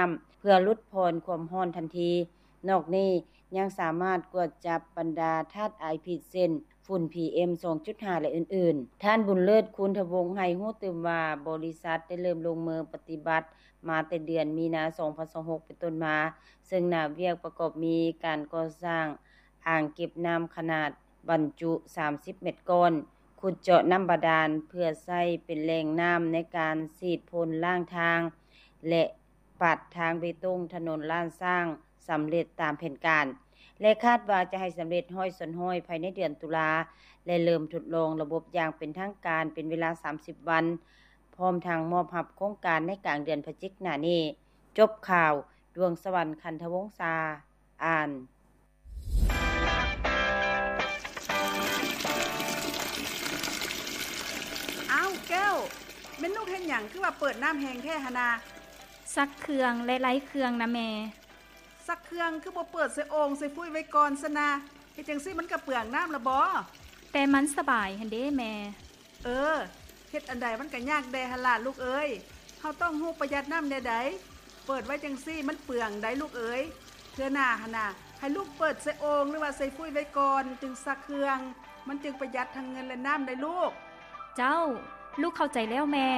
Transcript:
ຳ ເພື່ອຫຼຸດຜ່ອນຄວາມຮ້ອນທັນທີ. ນອກນີ້ຍັງສາມາດກວດຈັບບັນດາທາດອາຍພິດ ເຊັ່ນ ຝຸ່ນ ພີເອັມ ສອງຈຸດຫ້າ ແລະ ອື່ນໆ. ທ່ານ ບຸນເລີດ ຄູນທະວົງ ໃຫ້ຮູ້ຕື່ມວ່າ ບໍລິສັດໄດ້ເລີ່ມລົງມືປະຕິບັດມາແຕ່ເດືອນມີນາ ສອງພັນຊາວຫົກ ເປັນຕົ້ນມາ, ເຊິ່ງໜ້າວຽກປະກອບມີການກໍ່ສ້າງອ່າງເກັບນ້ຳຂະໜາດບັນຈຸສາມສິບແມັດກ້ອນ, ຂຸດເຈາະນ້ຳບາດານເພື່ອໃຊ້ເປັນແຫຼ່ງນ້ຳໃນການສີດພົ່ນລ້າງທາງ ແລະ ປາດທາງເບຕົງຖະໜົນລ້ານຊ້າງສຳເລັດຕາມແຜນການ ແລະ ຄາດວ່າຈະໃຫ້ສຳເລັດຮ້ອຍສ່ວນຮ້ອຍພາຍໃນເດືອນຕຸລາ ແລະ ເລີ່ມທົດລອງລະບົບຢ່າງເປັນທາງການເປັນເວລາສາມສິບວັນ, ພ້ອມທັງມອບຮັບໂຄງການໃນກາງເດືອນພະຈິກໜ້ານີ້. ຈົບຂ່າວ, ດວງສະຫວັນ ຄັນທະວົງສາ ອ່ານ. ອ້າວ ແກ້ວ, ແມ່ນລູກເຮັດຫຍັງ ຄືວ່າເປີດນ້ຳແຮງແທ້ຫັ້ນນາ? ຊັກເຄື່ອງ ແລະ ໄລ່ເຄື່ອງນະແມ່. ຊັກເຄື່ອງຄືບໍ່ເປີດໃສ່ໂອ່ງໃສ່ຟຸ້ຍໄວ້ກ່ອນຊັ້ນນະ? ເຮັດຈັ່ງຊີ້ມັນກະເປືອງນ້ຳລະບໍ? ແຕ່ມັນສະບາຍຫັ້ນເດ້ແມ່. ເອີ, ເຮັດອັນໃດມັນກະຍາກແດ່ຫັ້ນລະລູກເອີຍ. ເຮົາຕ້ອງຮູ້ປະຢັດນ້ຳແນວໃດ. ເປີດໄວ້ຈັ່ງຊີ້ມັນເປືອງໃດລູກເອີຍ. ເທື່ອໜ້າຫັ້ນນະ, ໃຫ້ລູກເປີດໃສ່ໂອ່ງ ຫຼືວ່າໃສ່ຟຸ້ຍໄວ້ກ່ອນ ຈຶ່ງຊັກເຄື່ອງ. ມັນຈຶ່ງປະຢັດທັງເງິນ ແລະ ນ້ຳໄດ໋ລູກ. ເຈົ້າ, ລູກເຂົ້າໃຈແລ້ວແມ່.